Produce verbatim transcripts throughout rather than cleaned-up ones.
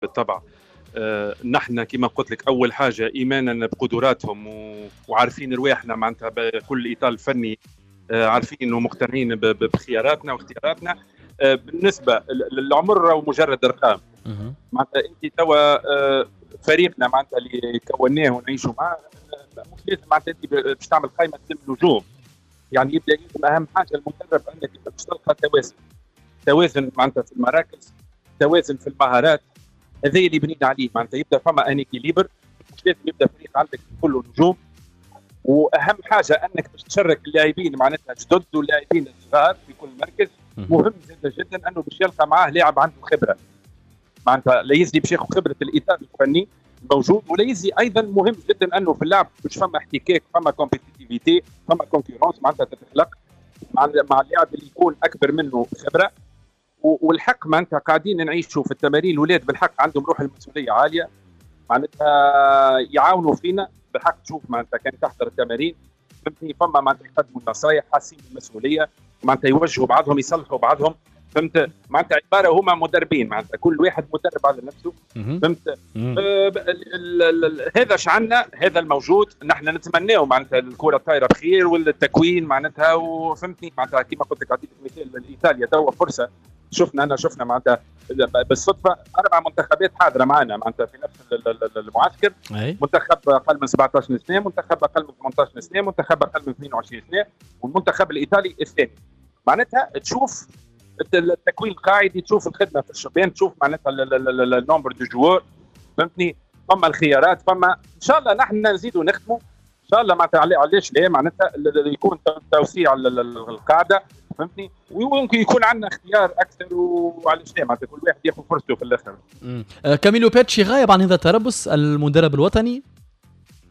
بالطبع آه، نحن كما قلت لك اول حاجة ايمانا بقدراتهم وعارفين رواحنا معناتها بكل الاطار الفني، آه، عارفين ومقتنعين بخياراتنا واختياراتنا. آه، بالنسبة للعمر ومجرد ارقام، معناتها انت توا فريقنا معناتها اللي كوناه ونعيشوا معاه مش لازم معناتها انت باش تعمل قائمة تلم نجوم، يعني يبدا لازم اهم حاجة المدرب انك باش تلقى توازن، توازن معناتها في المراكز، توازن في المهارات، هذا اللي بنينا عليه معناتها يبدا فما un équilibre، مش لازم يبدا فريق عندك كله نجوم. واهم حاجة انك باش تشارك اللاعبين معناتها جدد واللاعبين الصغار في كل مركز. مهم جدا جدا انه باش يلقى معاه لاعب عنده خبره، معناتها لا يزي باش ياخذ خبره الاطار الفني موجود، ولا يزي ايضا مهم جدا انه في اللعب باش فما احتكاك، فما compétitivité، فما concurrence معناتها تتخلق مع مع اللاعب اللي يكون اكبر منه خبره. والحق معناتها قاعدين نعيشوا في التمارين، الاولاد بالحق عندهم روح المسؤولية عالية، معناتها يعاونوا فينا بالحق. تشوف معناتها كان تحضر التمارين فهمتني، فما معناتها يقدموا النصايح، حاسين بالمسؤولية، معناتها يوجهوا بعضهم، يصلحوا بعضهم، فهمت معناتها عبارة هما مدربين، معناتها كل واحد مدرب على نفسه، فهمت. آه هذا شعنا، هذا الموجود، نحن نتمناه معناتها الكره الطايره بخير والتكوين معناتها، وفهمتني معناتها كما قلت لك اعطيك مثال ايطاليا توا فرصة، شفنا انا شفنا معناتها بالصدفة اربع منتخبات حاضره معنا معناتها في نفس المعسكر. أي. منتخب اقل من سبعطاش سنة، منتخب اقل من ثمنطاش سنة، منتخب اقل من اثنين وعشرين سنة، والمنتخب الايطالي الثاني. معناتها تشوف التكوين القاعدي، تشوف الخدمة في الشبان، تشوف معناتها ال nombre de joueurs، فهمتني، فما الخيارات، فما ان شاء الله نحن نزيدوا نخدموا ان شاء الله معناتها. علاش لا معناتها يكون توسيع القاعدة، فهمتني، وممكن يكون عندنا اختيار اكثر، وعلاش لا معناتها كل واحد ياخذ فرصته في الاخر. آه كاميلو بيتشي غايب عن هذا التربص المدرب الوطني.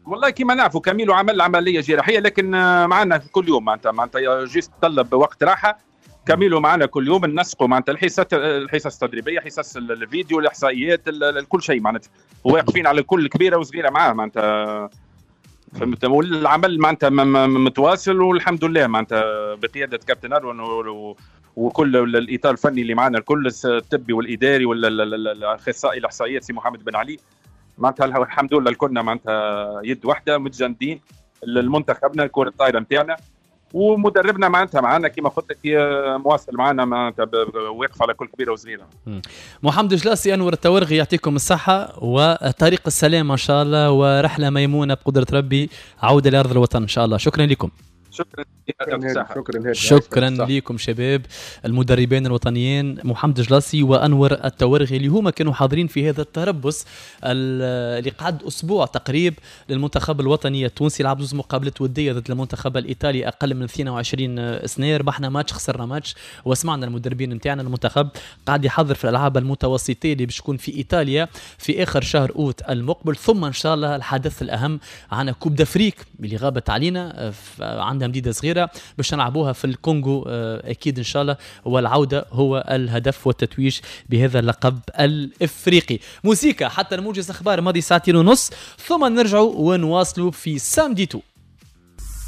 والله كما نعرفوا كاميلو عمل عملية جراحية، لكن معنا كل يوم معناتها معناتها juste طلب وقت راحة. كاميلو معنا كل يوم، ننسقوا معناتها الحصص الحصص التدريبية، حصص الفيديو، الاحصائيات، كل شيء معناتها، واقفين على كل كبيرة وصغيره معاه معناتها، فهمت. والعمل معناتها متواصل والحمد لله معناتها بقيادة كابتن اروان وكل الاطار الفني اللي معنا الكل، الطبي والاداري والاخصائي الاحصائيات سي محمد بن علي، معناتها الحمد لله الكلنا معناتها يد واحدة متجندين لمنتخبنا الكره الطايره نتاعنا، ومدربنا معناتها معنا كما قلت لك مواصل معنا معناتها واقف على كل كبيرة وصغيره. محمد جلاسي، انور التورغي، يعطيكم الصحة وطريق السلامة ان شاء الله، ورحله ميمونة بقدره ربي، عوده لارض الوطن ان شاء الله. شكرا لكم. شكرا شكرا شكرا لكم شباب المدربين الوطنيين محمد جلاسي وانور التورغي اللي هما كانوا حاضرين في هذا التربص اللي قعد اسبوع تقريب للمنتخب الوطني التونسي. لعب زوج مقابلات وديه ضد المنتخب الايطالي اقل من اثنين وعشرين سنة، ربحنا ماتش خسرنا ماتش، وسمعنا المدربين نتاعنا المنتخب قاعد يحضر في الالعاب المتوسطيه اللي باش تكون في ايطاليا في اخر شهر اوت المقبل. ثم ان شاء الله الحدث الاهم عنا Coupe d'Afrique اللي غابت علينا، عندها مديدة صغيرة باش نلعبوها في الكونغو اكيد ان شاء الله، والعودة هو الهدف والتتويج بهذا اللقب الافريقي. موسيقى حتى الموجز اخبار ماضي ساعتين ونص، ثم نرجعوا ونواصلوا في Samedi Tout.